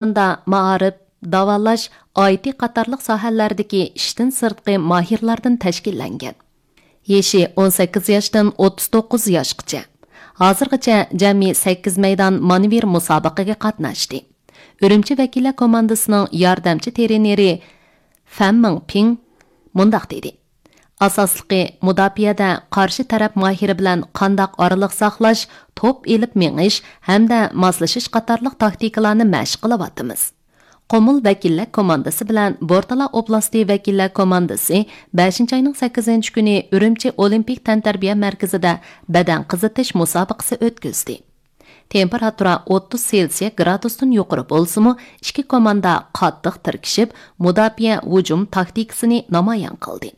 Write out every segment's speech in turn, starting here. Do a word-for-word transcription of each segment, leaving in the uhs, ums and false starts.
مائارىپ، داۋالاش، ئايتى قاتارلىق ساھەلەردىكى ئىشتىن سىرتقى ماھىرلاردىن تەشكىللەنگەن. يېشى ئون سەككىز ياشتىن ئوتتۇز توققۇز ياشقىچە. ھازىرغىچە جەمئىي سەككىز مەيدان مانېۋىر مۇسابىقىگە قاتناشتى. ئۈرۈمچى ۋەكىللەر كوماندىسىنىڭ ياردەمچى ترېنېرى فەن مىڭپىڭ مۇنداق دېدى: «ئاساسلىقى، مۇداپىئەدە قارشى تەرەپ ماھىرى بىلەن قانداق ئارىلىق ساقلاش، توپ ئېلىپ مېڭىش ھەمدە ماسلىشىش قاتارلىق تاكتىكىلارنى مەشىق قىلىۋاتىمىز.» قۇمۇل ۋەكىللەر كوماندىسى بىلەن بورتالا ئوبلاستى ۋەكىللەر كوماندىسى بەشىنچى ئاينىڭ سەككىزىنچى كۈنى ئۈرۈمچى ئولىمپىك تەنتەربىيە مەركىزىدە بەدەن قىزىتىش مۇسابىقىسى ئۆتكۈزدى. تېمپېراتۇرا ئوتتۇز سېلسىيە گرادۇستىن يۇقىرى بولسىمۇ، ئىككى كوماندا قاتتىق تىركىشىپ، مۇداپىئە ھۇجۇم تاكتىكىسىنى نامايان قىلدى.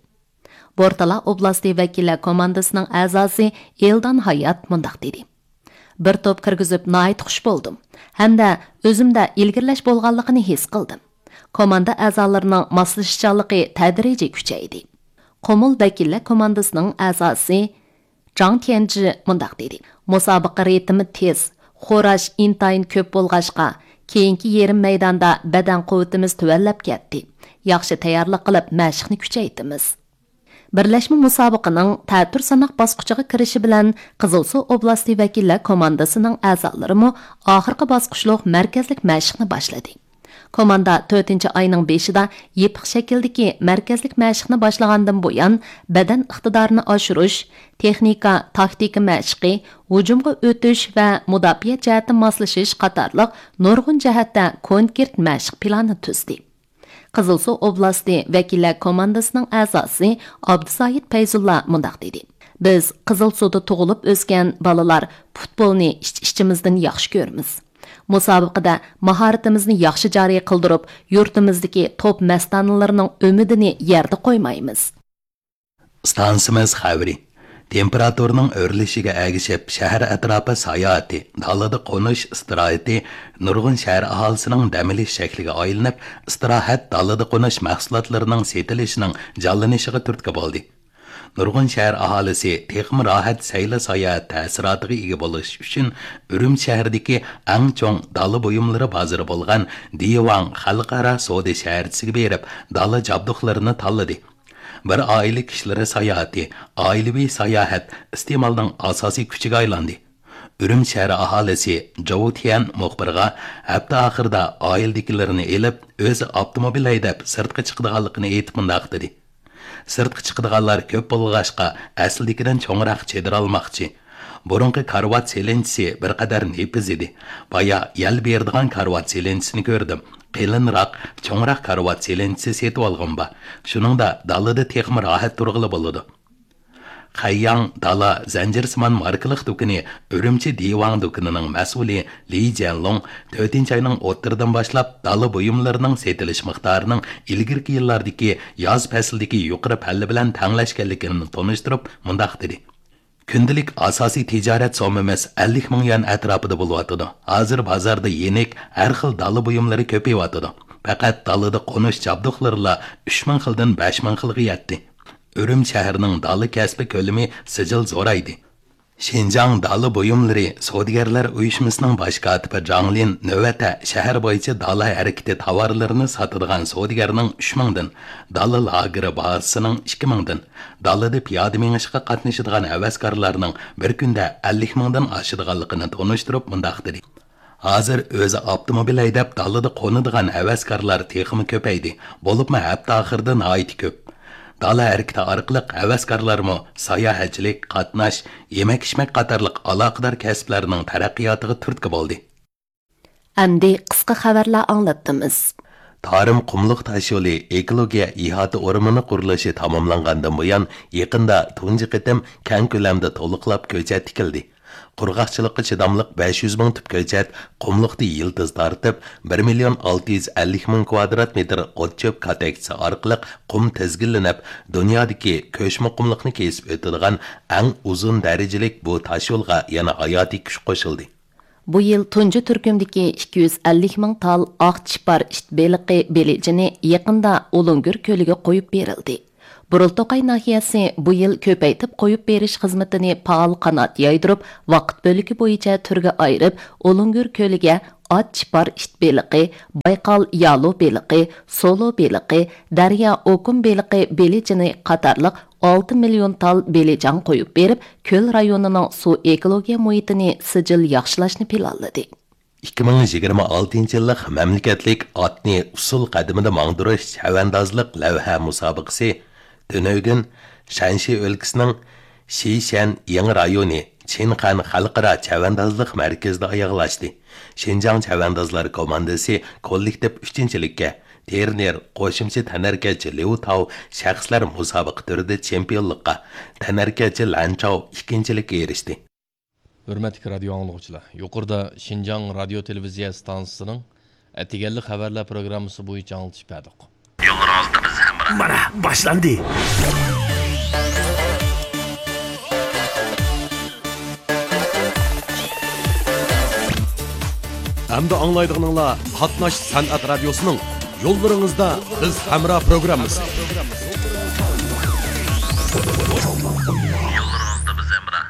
بورتالا ئوبلاستى ۋەكىللەر كوماندىسىنىڭ ئەزاسى ئېلدان ھايات مۇنداق دېدى: «بىر توپ كىرگۈزۈپ ناھايىتى خۇش بولدۇم ھەمدە ئۆزۈمدە ئىلگىرىلەش بولغانلىقىنى ھېس قىلدىم. كوماندا ئەزالىرىنىڭ ماسلىشىشچانلىقى تەدرىجىي كۈچەيدى.» قۇمۇل ۋەكىللەر كوماندىسىنىڭ ئەزاسى جاڭ تيەنجى مۇنداق دېدى: «مۇسابىقە رىتىمى تېز، خوراش ئىنتايىن كۆپ بولغاچقا، كېيىنكى يېرىم مەيداندا بەدەن قۇۋۋىتىمىز تۆۋەنلەپ كەتتى. ياخشى تەييارلىق قىلىپ، مەشىقنى كۈچەيتىمىز.» بىرلەشمە مۇسابىقىنىڭ تەتۈر ساناق باسقۇچىغا كىرىشى بىلەن، قىزىلسۇ ئوبلاستى ۋەكىللەر كوماندىسىنىڭ ئەزالىرىمۇ ئاخىرقى باسقۇچلۇق مەركەزلىك مەشىقنى باشلىدى. كوماندا تۆتىنچى ئاينىڭ بېشىدا يېپىق شەكىلدىكى مەركەزلىك مەشىقنى باشلىغاندىن بۇيان، بەدەن ئىقتىدارىنى ئاشۇرۇش، تېخنىكا، تاكتىكا مەشقى، ھۇجۇمغا ئۆتۈش ۋە مۇداپىئە جەھەتتە ماسلىشىش قاتارلىق نۇرغۇن جەھەتتە كونكرېت مەشىق پىلانى تۈزدى. قىزىلسۇ ئوبلاستى ۋەكىللەر كوماندىسىنىڭ ئەزاسى ئابدۇسايىت پەيزۇللا مۇنداق دېدى: «بىز قىزىلسۇدا تۇغۇلۇپ ئۆسكەن بالىلار پۇتبولنى ئىچ-ئىچىمىزدىن ياخشى كۆرىمىز. مۇسابىقىدە ماھارىتىمىزنى ياخشى جارى قىلدۇرۇپ، يۇرتىمىزدىكى توپ مەستانىلىرىنىڭ ئۈمىدىنى يەردە قويمايمىز.» ئىستانسىمىز خەۋىرى. تېمپېراتۇرىنىڭ ئۆرلىشىگە ئەگىشىپ، شەھەر ئەتراپى ساياھىتى، دالىدا قونۇش ئىستىراھىتى نۇرغۇن شەھەر ئاھالىسىنىڭ دەم ئېلىش شەكلىگە ئايلىنىپ، ئىستىراھەت، دالىدا قونۇش مەھسۇلاتلىرىنىڭ سېتىلىشىنىڭ جانلىنىشىغا تۈرتكە بولدى. نۇرغۇن شەھەر ئاھالىسى تېخىمۇ راھەت سەيلە ساياھەت تەسىراتىغا ئىگە بولۇش ئۈچۈن، ئۈرۈمچى شەھىرىدىكى ئەڭ چوڭ دالا بۇيۇملىرى بازىرى بولغان دىۋاڭ خەلقئارا سودا شەھەرچىسىگە بېرىپ، دالا جابدۇقلىرىنى تاللىدى. بىر ئائىلە كىشىلىرى ساياھىتى، ئائىلىۋى ساياھەت ئىستېمالنىڭ ئاساسىي كۈچىگە ئايلاندى. ئۈرۈمچى شەھىرى ئاھالىسى جوۋ تيەن مۇخبىرغا ھەپتە ئاخىرىدا ئائىلىدىكىلىرىنى ئېلىپ، ئۆزى ئاپتوموبىل ھەيدەپ سىرتقا چىقىدىغانلىقىنى ئېيتىپ مۇنداق دېدى: «سىرتقا چىقىدىغانلار كۆپ بولغاچقا، ئەسلىدىكىدىن چوڭراق چېدىر ئالماقچى. بۇرۇنقى كارىۋات سېلىنچىسى بىر قەدەر نېپىز ئىدى. بايا يەل بېرىدىغان كارىۋات سېلىنچىسىنى كۆردۈم. قېلىنراق، چوڭراق كارىۋات سېلىنچىسى سېتىۋالغۇم بار. شۇنىڭدا دالىدا تېخىمۇ راھەت تۇرغىلى بولىدۇ.» خەيياڭ دالا زەنجىرسىمان ماركىلىق دۇكىنى ئۈرۈمچى دىۋاڭ دۇكىنىنىڭ مەسئۇلى لى جيەنلۇڭ تۆتىنچى ئاينىڭ ئوتتۇرىدىن باشلاپ دالا بۇيۇملىرىنىڭ سېتىلىش مىقدارىنىڭ ئىلگىرىكى يىللاردىكى ياز پەسلىدىكى يۇقىرى پەللە بىلەن تەڭلەشكەنلىكىنى تونۇشتۇرۇپ مۇنداق دېدى: «كۈندىلىك ئاساسىي تىجارەت سوممىمىز ئەللىك مىڭ يۈەن ئەتراپىدا بولۇۋاتىدۇ. ھازىر بازاردا يېنىك ھەر خىل دالا بۇيۇملىرى كۆپىيىۋاتىدۇ. پەقەت دالىدا قونۇش جابدۇقلىرىلا ئۈچ مىڭ خىلدىن بەش مىڭ خىلغا يەتتى. ئۈرۈمچى شەھىرىنىڭ دالا كەسپى كۆلىمى سىجىل زورايدى.» شىنجاڭ دالا بۇيۇملىرى سودىگەرلەر ئۇيۇشمىسىنىڭ باش كاتىپى جاڭ لىن نۆۋەتتە شەھەر بويىچە دالا ھەرىكىتى تاۋارلىرىنى ساتىدىغان سودىگەرنىڭ ئۈچ مىڭدىن، دالا لاگېرى بازىسىنىڭ ئىككى مىڭدىن، دالىدا پىيادە مېڭىشقا قاتنىشىدىغان ھەۋەسكارلارنىڭ بىر كۈندە ئەللىك مىڭدىن ئاشىدىغانلىقىنى تونۇشتۇرۇپ مۇنداق دېدى: «ھازىر ئۆزى ئاپتوموبىل ھەيدەپ دالىدا قونىدىغان ھەۋەسكارلار تېخىمۇ كۆپەيدى، بولۇپمۇ ھەپتە ئاخىرىدا ناھايىتى كۆپ. دالا ھەرىكىتى ئارقىلىق ھەۋەسكارلارمۇ ساياھەتچىلىك، قاتناش، يېمەك-ئىچمەك قاتارلىق ئالاقىدار كەسىپلەرنىڭ تەرەققىياتىغا تۈرتكە بولدى.» ئەمدى قىسقا خەۋەرلەر ئاڭلاتتىمىز. تارىم قۇملۇق تاشيولى ئېكولوگىيە ئىھاتە ئورمىنى قۇرۇلۇشى تاماملانغاندىن بۇيان، يېقىندا تۇنجى قېتىم كەڭ كۆلەمدە تولۇقلاپ كۆچەت تىكىلدى. قۇرغاقچىلىققا چىداملىق بەش يۈز مىڭ تۈپ كۆچەت قۇملۇقتا يىلتىز تارتىپ، بىر مىليون ئالتە يۈز ئەللىك مىڭ كۋادرات مېتىر ئوت-چۆپ كاتەكچىسى ئارقىلىق قۇم تىزگىنلىنىپ، دۇنيادىكى كۆچمە قۇملۇقنى كېسىپ ئۆتىدىغان ئەڭ ئۇزۇن دەرىجىلىك بۇ تاشيولغا يەنە ھاياتىي كۈچ قوشۇلدى. بۇ يىل تۇنجى تۈركۈمدىكى ئىككى يۈز ئەللىك مىڭ تال ئاق چىپار ئىت بېلىقى بېلىجىنى يېقىندا ئۇلۇڭگۈر كۆلىگە قويۇپ بېرىلدى. بۇرۇلتوقاي ناھىيەسى بۇ يىل كۆپەيتىپ قويۇپ بېرىش خىزمىتىنى پائال قانات يايدۇرۇپ، ۋاقىت بۆلىكى بويىچە تۈرگە ئايرىپ، ئۇلۇڭگۈر كۆلىگە ئات چىپار ئىت بېلىقى، بايقال يالۇ بېلىقى، سولۇ بېلىقى، دەريا ئوكۇن بېلىقى بېلىجىنى قاتارلىق ئالتە مىليون تال بېلىجان قويۇپ بېرىپ، كۆل رايونىنىڭ سۇ ئېكولوگىيە مۇھىتىنى سىجىل ياخشىلاشنى پىلانلىدى. ئىككى مىڭ يىگىرمە ئالتىنچى يىللىق مەملىكەتلىك ئاتنى ئۇسسۇل قەدىمىدە ماڭدۇرۇش چەۋەندازلىق لەۋھە مۇسابىقىسى تۈنۈگۈن شەنشى ئۆلكىسىنىڭ شىشەن يېڭى رايونى چىنخەن خەلقئارا چەۋەندازلىق مەركىزىدە ئاياغلاشتى. شىنجاڭ چەۋەندازلار كوماندىسى كوللېكتىپ ئۈچىنچىلىككە، ترېنېر قوشۇمچە تەنھەرىكەتچى ليۇ تاۋ شەخسلەر مۇسابىقە تۈرىدە چېمپىيونلۇققا، تەنھەرىكەتچى لەن چاۋ ئىككىنچىلىككە ئېرىشتى. ھۆرمەتلىك رادىيو ئاڭلىغۇچىلار، يۇقىرىدا شىنجاڭ رادىيو تېلېۋىزىيە ئىستانسىسىنىڭ ئەتىگەنلىك خەۋەرلەر پروگراممىسى بويىچە ئاڭلىتىش بەردۇق. يوللىرىڭىزدا بىز ھەمراھ. مانا باشلاندى. ئەمدى ئاڭلايدىغىنىڭلار قاتناش سەنئەت رادىيوسىنىڭ يوللىرىڭىزدا بىز ھەمراھ پروگراممىسى. يوللىرىڭىزدا بىز ھەمراھ.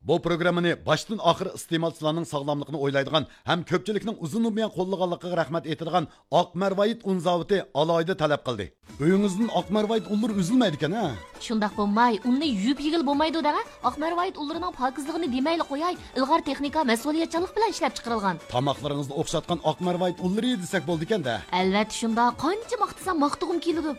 بۇ پروگراممىنى باشتىن ئاخىر ئىستېمالچىلارنىڭ ساغلاملىقىنى ئويلايدىغان ھەم كۆپچىلىكنىڭ ئۇزۇندىن بۇيان قوللىغانلىقىغا رەھمەت ئېيتىدىغان ئاق مەرۋايىت ئۇن زاۋۇتى ئالاھىدە تەلەپ قىلدى. ئۆيىڭىزدىن ئاق مەرۋايىت ئۇنلىرى ئۈزۈلمەيدىكەن ھە؟ شۇنداق بولماي، ئۇننى يۇيۇپ يېگىلى بولمايدۇ دەڭە. ئاق مەرۋايىت ئۇنلىرىنىڭ پاكىزلىقىنى دېمەيلا قوياي، ئىلغار تېخنىكا، مەسئۇلىيەتچانلىق بىلەن ئىشلەپ چىقىرىلغان. تاماقلىرىڭىزدا ئوخشاتقان ئاق مەرۋايىت ئۇنلىرى دېسەك بولىدىكەن-دە. ئەلۋەتتە شۇنداق، قانچە ماختىسام ماختىغۇم كېلىدۇ.